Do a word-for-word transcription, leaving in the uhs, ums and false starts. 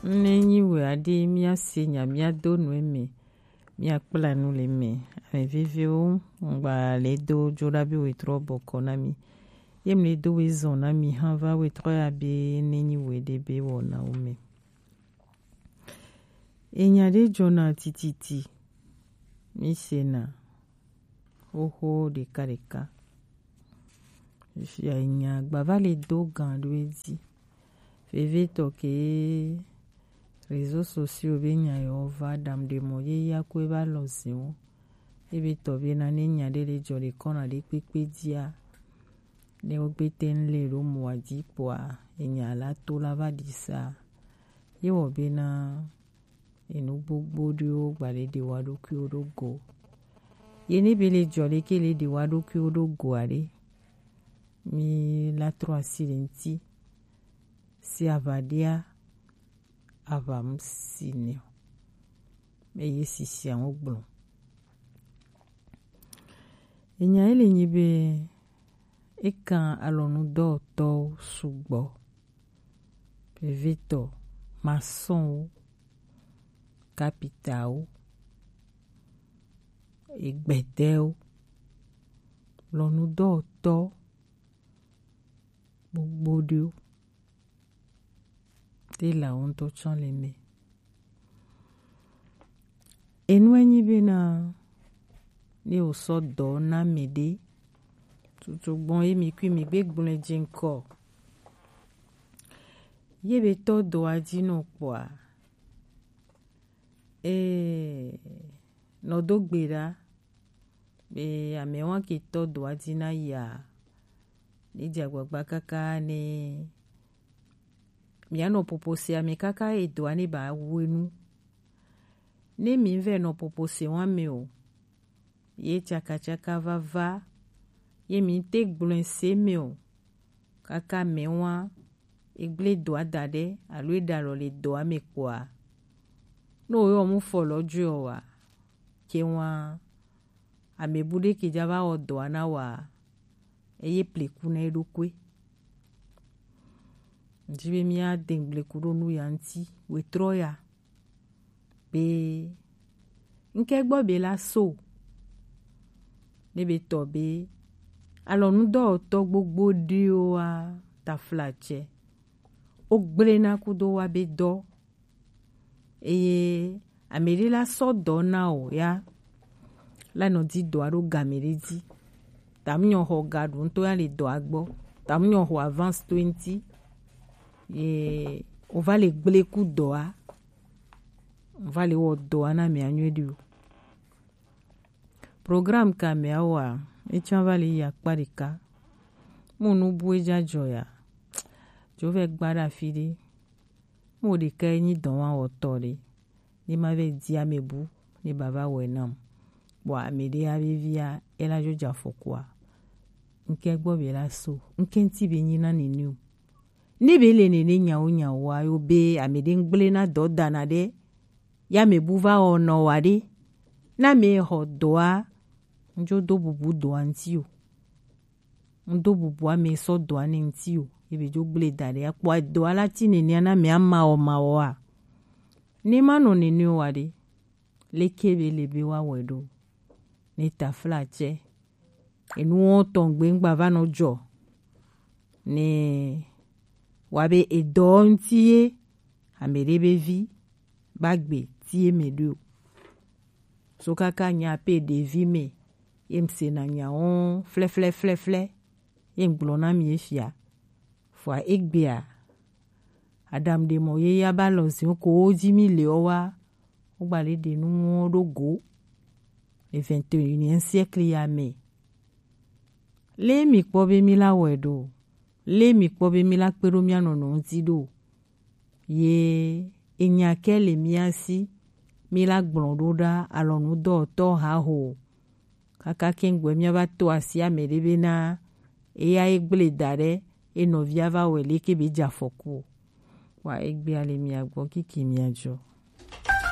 Ne nyi wɛ aɖe, míase nya, míado nu eme, míakpla nu le eme. Ame veviwo, ŋgba le do dzo ɖa be wetrɔ bɔkɔ na mi. Ye mle do we zɔn na mi hã va wetrɔ ya be ne nyi wɛ ɖe be wɔnawo me. Enya ɖe dzɔna tititi, mi sena xoxo ɖeka ɖeka. Fifia nya gbava le do gan ɖo edzi. Vevietɔ ke réseaux sociaux be nya yewo va ɖam ɖe mɔ ye ya ko eva lɔ ziwo. Ebe tɔ be na ne nya ɖe le dzɔ ɖe kɔna ɖe kpekpe dzia, ne wo gbe te ŋ le ɖo mɔ dzi kpɔa, enya la to la va ɖi sa. Ye wɔ be na enu gbogbo ɖewo gba le ɖe wa ɖokuiwo ɖo go. Ye ne be le dzɔ le ke le ɖe wa ɖokuiwo ɖo go aɖe, mi la trɔ asi le ŋti. Si ava ɖia, ava mu si ne o. Eye sisia ŋu gblɔ. Enya ye le nyi be eka alɔnudɔwɔtɔwo sugbɔ. Vevitɔ, masɔnwo, kapitawo, egbɛdɛwo, lɔnudɔwɔtɔ gbogbo ɖewo. Te la wo ŋutɔ tsɔ le me. Enu enyi bena ne wosɔ dɔ na mɛ ɖe, tutu gbɔn ye mi kui mi gbe gblɔe dzi ŋkɔ. Ye be tɔ dɔa dzi nɔ kpɔa, ee, nɔ do gbe ɖa. Be ame wa ke tɔ dɔa dzi na yia, ne dze agbagba kaka ne mianɔ popo se ame kaka edɔa ne ba wenu. Ne mi vɛ nɔ popo se wa me o, ye tsakatsaka vava, ye mi te gblɔe se me o, kaka mɛ wa egble dɔa da ɖe alo eɖe alɔ le dɔa me kpɔa, ne woyɔ mu fɔ lɔ joe wa, ke wa ame bu ɖe ke dza va wɔ dɔa na wa, eye pleku na eɖokui. Ŋdi be mía de ŋgbleku ɖo nu ya ŋti wetrɔ ya. Be ŋkɛ gbɔ be la so. Ne be tɔ be alɔnudɔwɔtɔ gbogbo ɖewoa taflatsɛ. Wo gblena kudo wa be dɔ. Eye ame ɖe la sɔ dɔ na o ya. La nɔ di dɔa ɖo game ɖe dzi. Tamunyɔ xɔ ga ɖo ŋutɔ ya le dɔa gbɔ. Tamunyɔ xɔ avance to eŋti. Ye wova le gblekudoa, wova le wɔ dɔa na mea nyuie ɖi o. Programme ka mea wɔa, etsã va le yi akpa ɖeka. Mu nu bu edza dzɔ ya. Dzo vɛ gba ɖe afi ɖe. Mu ɖeka enyi dɔwawɔtɔ ɖe. Ne ma vɛ di ame bu, ne ba va wɔe nam. Bɔ ame ɖe ya vevia, ela dzo dza fɔkua. Ŋkɛ gbɔ be la so. Ŋkɛ ŋti be nyi na nene o. Ne be le nene nyawo nyawoa, yo be ame ɖe ŋgble na dɔ dana ɖe, ya me bu va wɔ nɔ wa ɖe. Na me xɔ dɔa, ŋdzo do bubu dɔa ŋti o. Ŋdo bubu ame sɔ dɔa ne ŋti o. Ye be dzo gble da ɖe. Akpɔ dɔa la ti nene na me ama wɔ ma wɔa. Ne ma nɔ nene wa ɖe. Leke be le be wa wɔ ɖo. Ne taflatsɛ. Enuwo tɔn gbe ŋgba va nɔ dzɔ. Ne wa be edɔ ŋti ye, ame ɖe be vi, ba gbe ti ye me ɖo. So kaka nya pe ɖevi me, ye ŋse na nya wo flɛflɛflɛflɛ, ye ŋgblɔ na mi efia. Fua egbea, Adam ɖe mɔ ye ya ba lɔ ziwo ko wo dzi mi le ɔ wa, wo gba le ɖe nu wo ɖo go. Le vingt et unième siècle ya me. Le mi kpɔ be mi la wɔe ɖo. Le mi kpɔ be mi la kpe ɖo mia nɔnɔ ŋti ɖo. Ye enya kɛ le mia si, mi la gblɔ ɖo ɖa alɔnudɔwɔtɔ ha ho. Kaka kɛŋgbɛ mia va to asi ame ɖe be na eya ye gble da ɖe, e nɔvia va wɛ leke be dza fɔku o. Wa egbea le mia gbɔ kiki mia dzɔ.